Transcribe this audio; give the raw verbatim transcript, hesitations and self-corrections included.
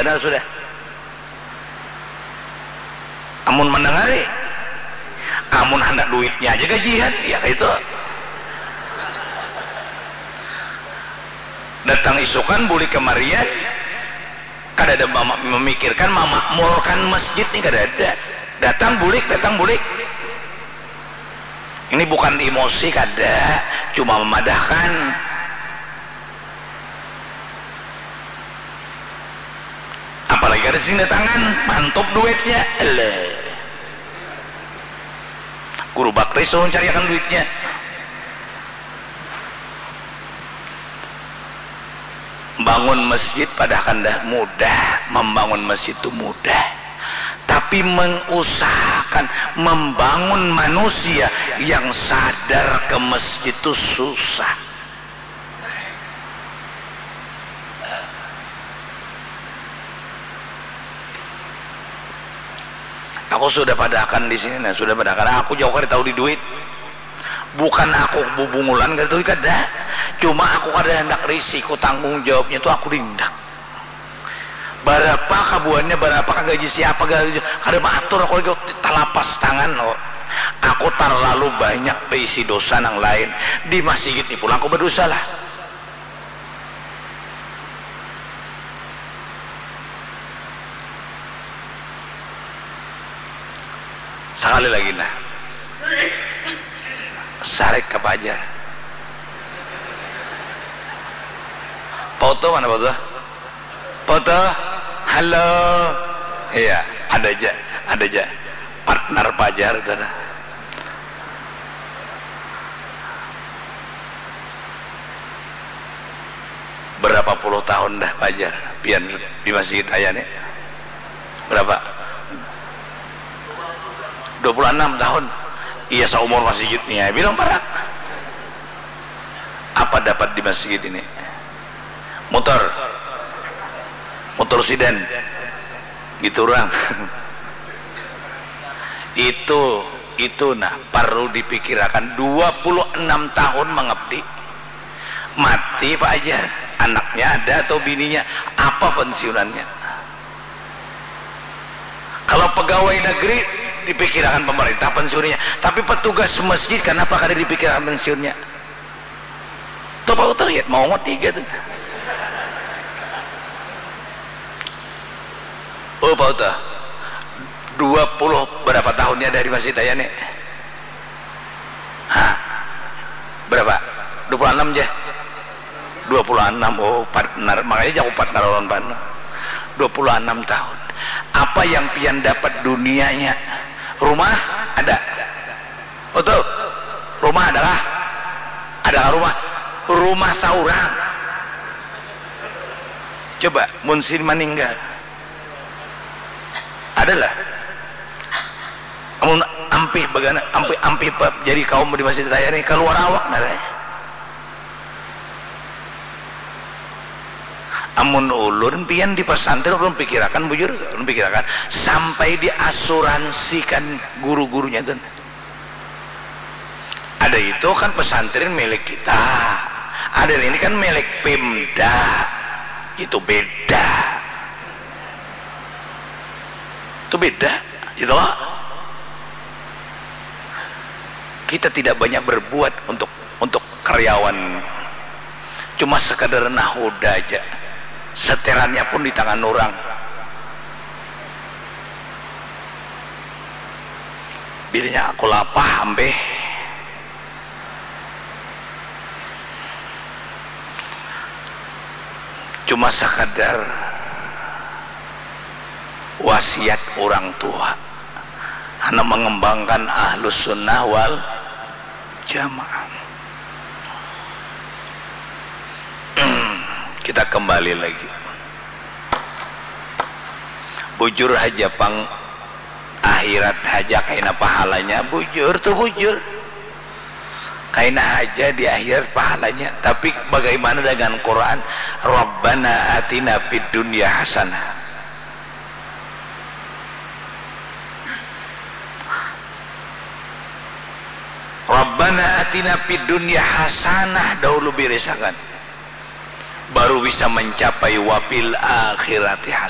Benar sudah. Amun mandangari, amun handak duitnya aja gajian, ya itu. Datang isukan, bulik kamarian, kada ada mama-, memikirkan mamakmurkan masjid ni, kada ada. Datang bulik, datang bulik. Ini bukan emosi, kada, cuma memadahkan. Apalagi kada sing datangan, mantup duitnya. Eleh. Guru Bakri suruh cariakan duitnya. Bangun masjid padahkan dah mudah, membangun masjid tu mudah. Tapi mengusahakan membangun manusia yang sadar ke masjid tu susah. Aku sudah padahakan di sini, nah, sudah padahakan. Aku jauh kada tahu di duit. Bukan aku bubungulan kada tahu, kada. Cuma aku kada handak risiko tanggung jawabnya tu aku di handak. Barapa kabuhannya, barapa ka gaji siapa, gaji, kada maatur aku lagi, talapas tangan, oh. Aku tarlalu banyak baisi dosa nang lain. Di masjid ni pulang aku badosa lah. Sakali lagi nah. Sarik ka pajar. Pautuh mana pautuh? Pautuh? Halo. Iya, ada ja, ada ja. Partner pajar tu nah. Berapa puluh tahun dah pajar pian di masjid aya ni? Berapa? Dua puluh enam tahun. Iya, saumur masjid ni ai, bilang parak. Apa dapat di masjid ini? Mutur. Mutur sidan. Gitu urang. Itu, itu nah parlu dipikirakan. Dua puluh enam tahun mangabdi. Mati Pak Ajar, anaknya ada atau bininya, apa pensiunannya? Kalau pegawai negeri dipikirakan pemerintah pensiunnya, tapi petugas masjid kanapa kada dipikirakan pensiunnya? Tuh Pak Utuh ya, mau ngot tiga tuh. Oh Pak Utuh, dua puluh berapa tahunnya dari masjid aya nih? Hah? Berapa? Dua puluh enam ja? Dua puluh enam, oh partner, makanya jaku partner lawan partner. Dua puluh enam tahun. Apa yang pian dapat dunianya? Rumah? Ada. Utuh, rumah adakah? Adakah rumah? Rumah saurang. Coba, mun sin maninggal. Adalah. Amun ampih bagana, ampih, ampih pa-, jadi kaum di masjid raya ni, kaluar awak nah, eh. Amun ulun pian di pesantren, ulun pikirakan, bujur, ulun pikirakan sampai diasuransikan guru-gurunya tu. Ada itu kan pesantren milik kita, ada ini kan milik Pemda, itu beda. Itu beda, itu loh. Kita tidak banyak berbuat untuk, untuk karyawan, cuma sekadar nahoda aja. Seterannya pun di tangan orang. Bilanya aku lapah, ambeh. Cuma sakadar wasiat urang tua, handak mangembangkan Ahlus Sunnah wal Jamaah. Kita kembali lagi. Bujur haja pang, akhirat haja kaina pahalanya, bujur tu bujur. Kaina haja di akhirat pahalanya, tapi bagaimana dengan Quran? Rabbana atina fid dunya hasanah. Rabbana atina fid dunya hasanah dahulu birisakan. Baru bisa mencapai wa fil akhirati hasanah.